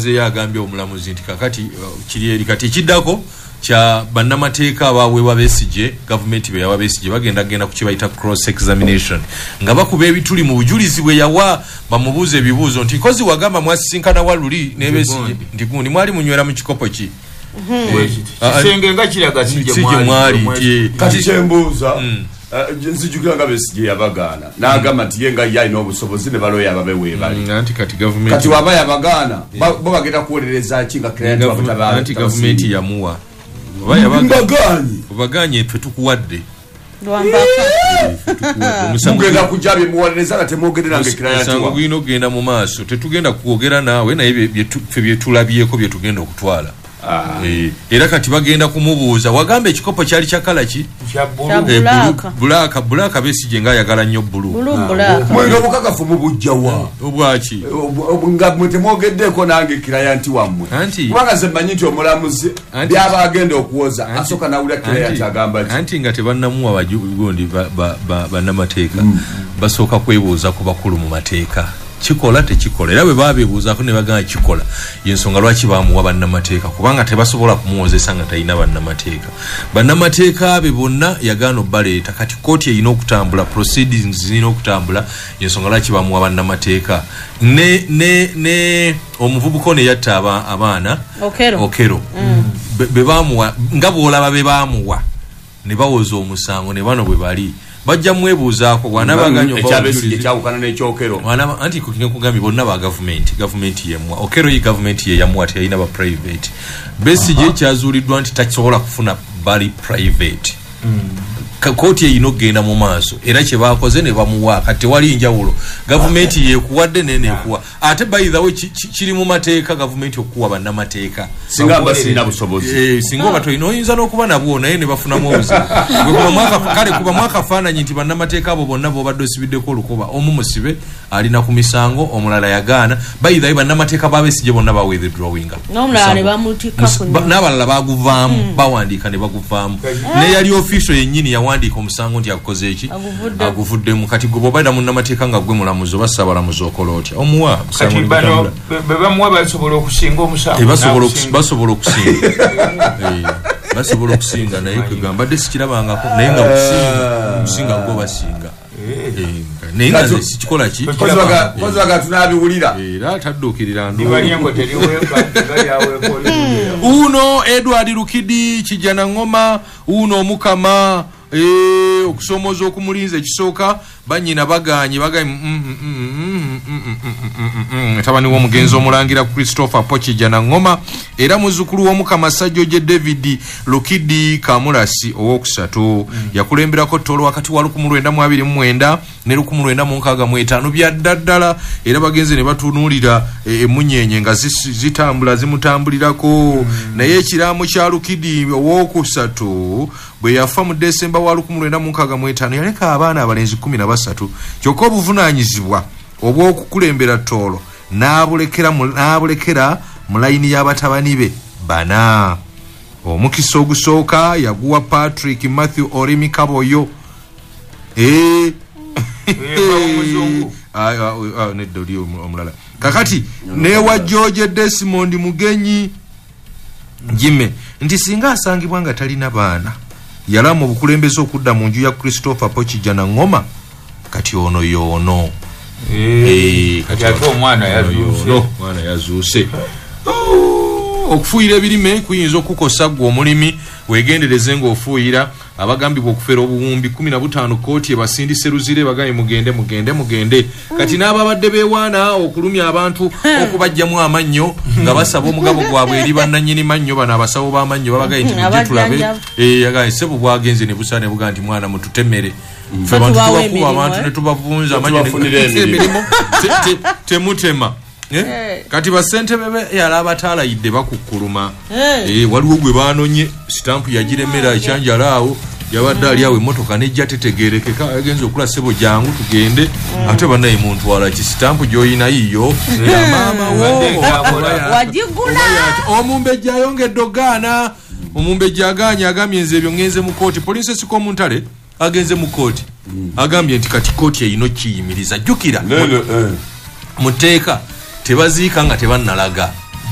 Yazeeyo agambye omulamuzi nti kakati kiri eri. Kati ekiddako kya bannamateeka abaweebwa Besigye, gavumenti be yawa Besigye, bagenda genda ku kye bayita cross examination, nga bakuba ebituli mu bujulizi bwe yawa, bamubuuza ebibuuzo nti nkozi wagamba mwasisinkana wa luli ne Besigye, nti gundi mwali munywera mu kikopo ki? Kisenge nga kiraga si gye mwali. Kati kyembuuza, nzijukira nga Besigye yabagaana n'agamba nti ye nga ye alina obusobozi ne baloya ababe weebali. Anti kati gavumenti, kati waba yabagaana, bo bagenda kuwolereza ki nga client wabwe? Anti gavumenti yamuwa. Mbagaanyi. Obagaanye, ffe tukuwadde. Mugenda kujja bye muwolereza nga temwogerera nga client. Omusango gulina okugenda mu maaso, tetugenda kwogera naawe, naye ffe byetulabyeko bye tugenda okutwala. Era kati bagenda kumubuuza, wagamba ekikopo kyali kya colour ki? Black. Black. Besigye ngaayagala nnyo blue. Mwenge obukakafu mubujjawa? Obwaki? Nga mwe temwogeddeko nange client wammwe, kubanga nze mmanyi nti omulamuzi byaba agenda okuwoza asooka nawulira client agamba ki. Anti nga tebannamuwa gundi bannamateeka, basooka kwebuuza ku bakulu mu mateeka, kikola tekikola. Era bwe babeebuuzaako ne bagamba kikola, yensonga lwaki bamuwa bannamateeka, kubanga tebasobola kumuwozesa nga talina bannamateeka. Bannamateeka be bonna yagaana obbaleeta. Kati kooti erina okutambula, proceedings zirina okutambula, yensonga lwaki bamuwa bannamateeka. Ne omuvubuka ono eyatta abaana, Okero, be bamuwa nga bw'olaba be bamuwa ne bawoza omusango, ne bano bwe bali bajja mwebuuzaako bw'anaabaganya. Ekyawukana n'ekyokero. Anti nkugambye bonna ba gavumenti, gavumenti yemuwa. Okero ye gavumenti ye yamuwa, teyalina ba private. Besigye kyazuuliddwa nti takisobola kufuna bali private. Kooti erina okugenda mu maaso, era kye bakoze ne bamuwa. Kati tewali njawulo, gavumenti yekuwadde nenekuwa. Ate by the way, kiri mu mateeka gavumenti okuwa bannamateeka. Singa mba sirina busobozi? Singa oba tolina, oyinza n'okuba nabwo naye ne bafunamu obuzibu. Kale kuba mwakafaananyi nti bannamateeka abo bonna bobadde osibiddeko olukoba, omu musibe alina ku misango, omulala yagaana. By the way, bannamateeka ba Besigye bonna ba withdrawinga, n'abalala baguvaamu, bawandiika ne baguvaamu. Neyali official yennyini yawandiika omusango nti agukoze eki, aguvuddemu. Kati gwe bw'obaira munnamateeka nga gwe mulamuzi oba ssaabalamuzi, okola otya? Omuwa. Kati bano be bamuwa basobola okusinga omusango? Basobola okusinga, basobola okusinga, naye kwegamba mbadde sikirabangako, naye nga kusinga gwo basinga, naye nga nze sikikola ki. Kozibaga tunabiwulira. Era tadduukirira. Uno Edward Lukidi Kijana Ngoma, uno omukama, okusomooza okumulinza ekisooka banyina baganye, baganye tabani w'omugenzi omulangira Christopher Pokijana Ngoma era muzzukulu w'omukama Sajjoje David Lukidi Kamulasi owokusatu. Yakulemberako Tooro wakati wa 1929 ne 1965 byadda ddala. Era bagenze ne batunuulira emunyenye nga zitambula zimutambulirako. Naye ekiraamo kya Lukidi owokusatu, bwe yafa mu Desemba wa 1965, yaleka abaana abalenzi 13. Kyokka obuvunaanyizibwa obw'okukulembera Tooro n'abulekera mu layini y'abatabani be bana. Omukisa ogusooka yaguwa Patrick Matthew Orimi Kaboyo. Nedda, oli omulala. Kakati newa George Desmond Mugenyi Jime nti singa asangibwa nga talina baana, yalamu obukulembeze okudda mu nju ya Christopher Pokijana Ngoma. Kati ono yoono. Kati ate omwana yazuuse. Omwana yazuuse. Okufuuyira ebirime kuyinza okukosa ggwe omulimi, wegendereze ng'ofuuyira. Abagambibwa okufera obuwumbi 15 kooti ebasindise Luzire, bagambye mugende, mugende, mugende. Kati n'ababadde beewaana okulumya abantu okubajjamu amannyo nga basaba omugabo gwabwe eri bannannyini mannyo, bano abasawo b'amannyo, babagambye nti mujje tulabe. Yagambye sebo bwagenze ne busa ne bugaa nti mwana mututemere ffe abantu tubakuba abantu ne tubavunza amannyo emirimu temutema. Kati basentebe be yala abataalayidde bakukkuluma. Waliwo gwe banonye, sitampu yagiremera ekyanjala awo, yabadde ali awo emmotoka nejja tetegerekeka, agenza okula, "Sebo, jangu tugende." Ate bannaye muntwala ki? Sitampu gy'oyina yiyo ya maama wo. Wagigula. Omumbejja ayongedde ogaana. Omumbejja agaanye, agambye nze ebyo ŋŋenze mu kooti. Poliisi esika omuntale agenze mu kooti, agambye nti kati kooti erina okiyimiriza. Jjukira mu tteeka tebaziika nga tebannalaga.